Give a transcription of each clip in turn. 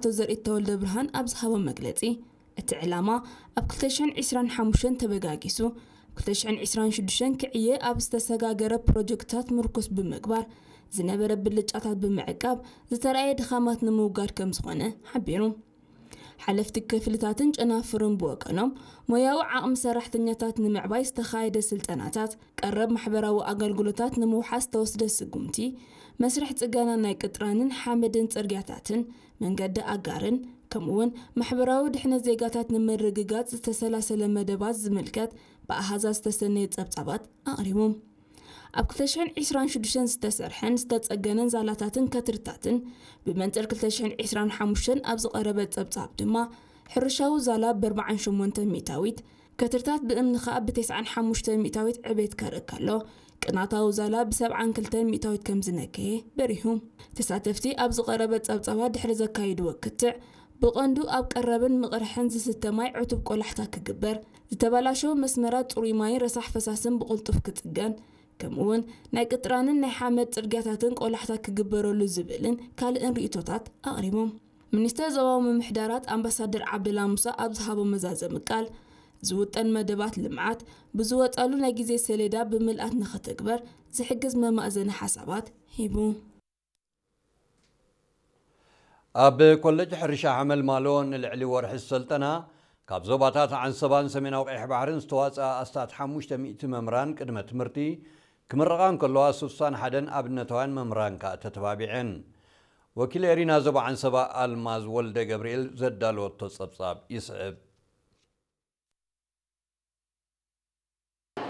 ኣቶ ዘርኢት ተወልደ ብርሃን ኣብ ዝሃቦ መግለጺ፣ እቲ ዕላማ ኣብ ክልተ ሽሕን ዕስራን ሓሙሽተን ተበጋጊሱ፣ ኣብ ክልተ ሽሕን ዕስራን ሽዱሽተን ክዕየ ኣብ ዝተሰጋገረ ፕሮጀክትታት ምርኩስ ብምግባር፣ ዝነበረ ብልጫታት ብምዕቃብ ዝተረኣየ ድኻማት ንምውጋድ ከም ዝኾነ ሓቢሩ። ሓለፍቲ ክፍልታትን ጨናፍርን ብወገኖም፣ ሞያዊ ዓቕሚ ሰራሕተኛታት ንምዕባይ ዝተኻየደ ስልጠናታት፣ ቀረብ ማሕበራዊ ኣገልግሎታት ንምውሓስ ዝተወስደ ስጉምቲ፣ መስርሕ ጽገና ናይ ቅጥራንን ሓመድን ጽርግያታትን፣ መንገዲ ኣጋርን፣ ከምኡውን ማሕበራዊ ድሕነት ዜጋታት ንምርግጋጽ ዝተሰላሰለ መደባት ዝምልከት ብኣሃዛት ዝተሰነየ ጸብጻባት ኣቕሪቦም። ኣብ ክልተ ሽሕን ዕስራን ሽዱሽተን ዝተሰርሐን ዝተጸገነን ዛላታትን ከትርታትን፣ ብመንጽር ክልተ ሽሕን ዕስራን ሓሙሽተን ኣብ ዝቐረበ ጸብጻብ ድማ፣ ሕርሻዊ ዛላ ብ ኣርባዓን ሸሞንተን ሚእታዊት፣ ከትርታት ብእምኒ ከኣ ብ ተስዓን ሓሙሽተን ሚእታዊት ዕቤት ከርኢ ከሎ፣ ቅናታዊ ዛላ ብ ሰብዓን ክልተን ሚእታዊት ከም ዝነከየ በሪሁ። ተሳተፍቲ ኣብ ዝቐረበ ጸብጻባት ድሕሪ ዘካይድዎ ክትዕ፣ ብቐንዱ ኣብ ቀረብን ምቕርሕን ዝስተ ማይ ዕቱብ ቆላሕታ ክግበር፣ ዝተበላሸወ መስመራት ጽሩይ ማይን ረሳሕ ፈሳስን ብቕልጡፍ ክጽገን፣ ከምኡውን ናይ ቅጥራንን ናይ ሓመድ ጽርግያታትን ቆላሕታ ክግበረሉ ዝብልን ካልእን ርእይቶታት ኣቕሪቦም። ሚኒስተር ዞባዊ ምምሕዳራት ኣምባሳደር ዓብደላ ሙሳ ኣብ ዝሃቦ መዛዘሚ ቃል፣ ዝውጠን መደባት ልምዓት ብዝወጸሉ ናይ ግዜ ሰሌዳ ብምልኣት ንኽትግበር ዝሕግዝ መማእዘኒ ሓሳባት ሂቡ። ኣብ ኮለጅ ሕርሻ ሓመልማሎ ንልዕሊ ወርሒ ዝሰልጠና ካብ ዞባታት ዓንሰባን ሰሜናዊ ቀይሕ ባሕርን ዝተዋፅኣ ኣስታት ሓሙሽተ ሚእቲ መምህራን ቅድመ ትምህርቲ ክምረቓ እንከለዋ፣ ስሳን ሓደን ኣብነታውያን መምህራን ከኣ ተተባቢዐን። ወኪል ኤሪና ዞባ ዓንሰባ ኣልማዝ ወልደ ገብርኤል ዘዳለወቶ ጸብጻብ ይስዕብ።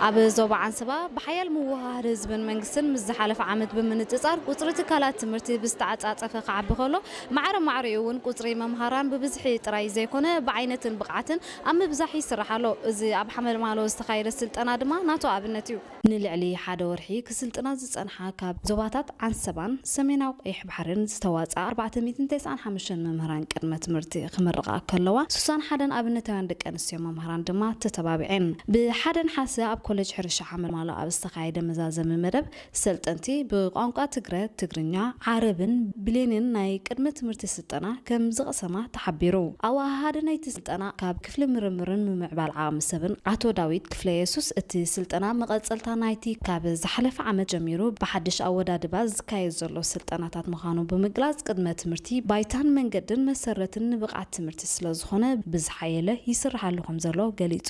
ኣብ ዞባ ዓንሰባ ብሓያል ምውህሃር ህዝብን መንግስትን ምስ ዝሓለፈ ዓመት ብምንጽጻር ቁጽሪ ትካላት ትምህርቲ ብዝተዓጻጸፈ ክዓቢ ከሎ፣ ማዕረ ማዕሪኡ እውን ቁጽሪ መምሃራን ብብዝሒ ጥራይ ዘይኮነ ብዓይነትን ብቕዓትን ኣብ ምብዛሕ ይስራሕ ኣሎ። እዚ ኣብ ሓመልማሎ ዝተኻየደ ስልጠና ድማ ናቱ ኣብነት እዩ። ንልዕሊ ሓደ ወርሒ ክስልጥና ዝጸንሓ ካብ ዞባታት ዓንሰባን ሰሜናዊ ቀይሕ ባሕርን ዝተዋጽኣ ኣርባዕተ ሚእትን ተስዓን ሓሙሽተን መምህራን ቅድመ ትምህርቲ ክምርቓ ከለዋ፣ ስሳን ሓደን ኣብነታውያን ደቂ ኣንስትዮ መምህራን ድማ ተተባቢዐን። ብሓደ ነሓሰ ኣብ ኮሌጅ ሕርሻ ሓመልማሎ ኣብ ዝተኻየደ መዛዘሚ መደብ፣ ሰልጠንቲ ብቋንቋ ትግረ፣ ትግርኛ፣ ዓረብን ብሌንን ናይ ቅድመ ትምህርቲ ስልጠና ከም ዝቐሰማ ተሓቢሩ። ኣወሃሃዲ ናይቲ ስልጠና ካብ ክፍሊ ምርምርን ምምዕባል ዓቕሚ ሰብን ኣቶ ዳዊት ክፍለየሱስ፣ እቲ ስልጠና መቐጸልታ ናይቲ ካብ ዝሓለፈ ዓመት ጀሚሩ ብሓድሽ ኣወዳድባ ዝካየድ ዘሎ ስልጠናታት ምዃኑ ብምግላጽ፣ ቅድመ ትምህርቲ ባይታን መንገድን መሰረትን ንብቕዓት ትምህርቲ ስለዝኾነ ብዝሓየለ ይስርሓሉ ከም ዘሎ ገሊጹ።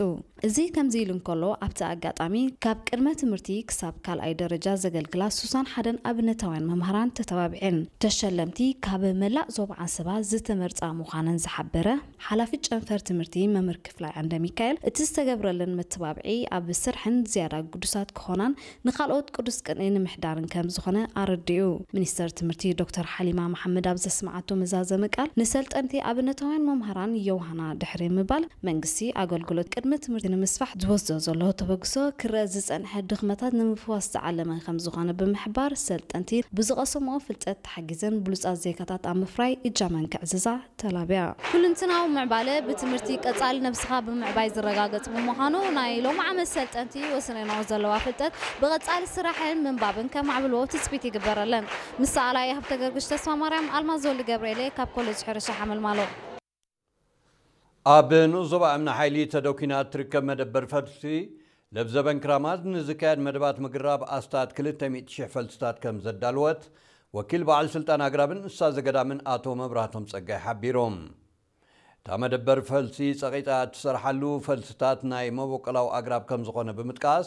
እዚ ከምዚ ኢሉ እንከሎ፣ ኣብቲ ኣጋጣሚ ካብ ቅድመ ትምህርቲ ክሳብ ካልኣይ ደረጃ ዘገልግላ ስሳን ሓደን ኣብነታውያን መምህራን ተተባቢዐን። ተሸለምቲ ካብ መላእ ዞባ ዓንሰባ ዝተመርጻ ምዃነን ዝሓበረ ሓላፊ ጨንፈር ትምህርቲ መምህር ክፍላይ ዓንደ ሚካኤል፣ እቲ ዝተገብረለን መተባብዒ ኣብ ስርሐን ዝያዳ ግዱሳት ክኾናን ንኻልኦት ቅዱስ ቅንኢ ንምሕዳርን ከም ዝኾነ ኣረዲኡ። ሚኒስተር ትምህርቲ ዶክተር ሓሊማ መሓመድ ኣብ ዘስምዓቶ መዛዘሚ ቃል፣ ንሰልጠንቲ ኣብነታውያን መምሃራን የውሃና ድሕሪ ምባል፣ መንግስቲ ኣገልግሎት ቅድመ ትምህርቲ ንምስፋሕ ዝወስዶ ዘሎ ተበግሶ ክረአ ዝጸንሐ ድኽመታት ንምፍዋስ ዝዓለመ ከም ዝኾነ ብምሕባር፣ ሰልጠንቲ ብዝቐሰምኦ ፍልጠት ተሓጊዘን ብሉጻት ዜጋታት ኣብ ምፍራይ እጃመን ከዕዝዛ ተላብያ። ኩልንትናዊ ምዕባለ ብትምህርቲ ቀጻሊ ነብስኻ ብምዕባይ ዝረጋገጽ ብምዃኑ፣ ናይ ሎሚ ዓመት ሰልጠንቲ ወስነንኦ ዘለዋ ፍልጠት ብቐጻሊ ስራሕን ምንባብን ከማዕብልዎ ትጽቢት ይግበረለን። ምስ ሰኣላይ ሃብተ ገርግሽ ተስፋ ማርያም፣ ኣልማዝ ወልደ ገብርኤል ካብ ኮሌጅ ሕርሻ ሓመልማሎ። ኣብ ንኡስ ዞባ እምኒ ሓይሊ ተደኲና እትርከብ መደበር ፈልሲ ለብዘበን ክራማት ንዝካየድ መደባት ምግራብ ኣስታት ክልተ ሚእቲ ሽሕ ፈልስታት ከም ዘዳለወት ወኪል በዓል ስልጣን ኣግራብን እንስሳ ዘገዳምን ኣቶ መብራህቶም ጸጋይ ሓቢሮም። እታ መደበር ፈልሲ ጸቒጣ እትሰርሓሉ ፈልስታት ናይ መበቆላዊ ኣግራብ ከም ዝኾነ ብምጥቃስ፣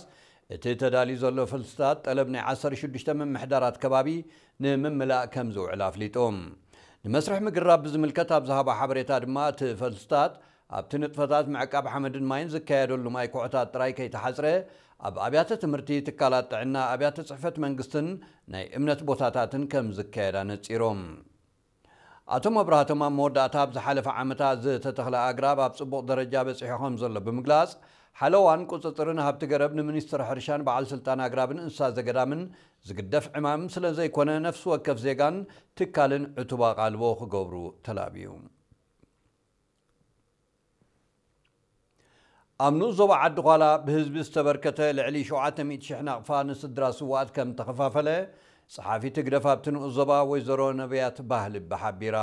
እቲ ተዳልዩ ዘሎ ፈልስታት ጠለብ ናይ ዓሰርተ ሽዱሽተ ምምሕዳራት ከባቢ ንምምላእ ከም ዝውዕል ኣፍሊጡ። ንመስርሕ ምግራብ ብዝምልከት ኣብ ዝሃቦ ሓበሬታ ድማ፣ እቲ ፈልስታት ኣብቲ ንጥፈታት ምዕቃብ ሓመድን ማይን ዝካየደሉ ማይ ኩሖታት ጥራይ ከይተሓጽረ፣ ኣብ ኣብያተ ትምህርቲ፣ ትካላት ጥዕና፣ ኣብያተ ጽሕፈት መንግስትን ናይ እምነት ቦታታትን ከም ዝካየድ ኣነጺሮም። ኣቶ መብራህቶም ኣብ መወዳእታ፣ ኣብ ዝሓለፈ ዓመታት ዝተተኽለ ኣግራብ ኣብ ጽቡቕ ደረጃ በጺሑ ከም ዘሎ ብምግላጽ፣ ሓለዋን ቁጽጽርን ሃብቲ ገረብ ንሚኒስትሪ ሕርሻን በዓል ስልጣን ኣግራብን እንስሳ ዘገዳምን ዝግደፍ ዕማም ስለ ዘይኮነ፣ ነፍሲ ወከፍ ዜጋን ትካልን ዕቱብ ኣቓልቦ ክገብሩ ተላብዩ። ኣብ ንኡስ ዞባ ዓዲ ዃላ ብህዝቢ ዝተበርከተ ልዕሊ ሸውዓተ ሚእቲ ሽሕ ናቕፋ ንስድራ ስውኣት ከም ተኸፋፈለ ጸሓፊት ህግደፍ ኣብቲ ንኡስ ዞባ ወይዘሮ ነብያት ባህልቢ ሓቢራ።